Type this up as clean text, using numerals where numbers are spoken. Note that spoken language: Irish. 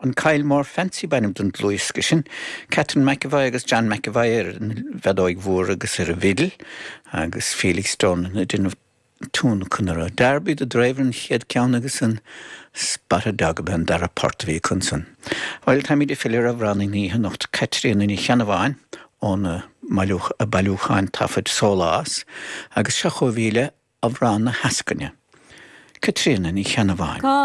An Kylemore Fancy b'ainm don dlúthdhiosca sin. Catherine McEvoy agus John McEvoy ar an bhfeadóig mhór agus ar an bhfidil agus Felix Durnan ag déanamh tionlacan orthu. Darby the Driver an chéad ceann agus an Spotted Dog ab ea an dara port a bhí acu ansan. Bhuel, táimid ag filleadh ar amhránaí na hoíche anocht, Caitríona Ní Cheannabháin óna bailiúchán taifid Sólás agus seo chugaibh í le Amhrán na hEascainne. Caitríona Ní Cheannabháin.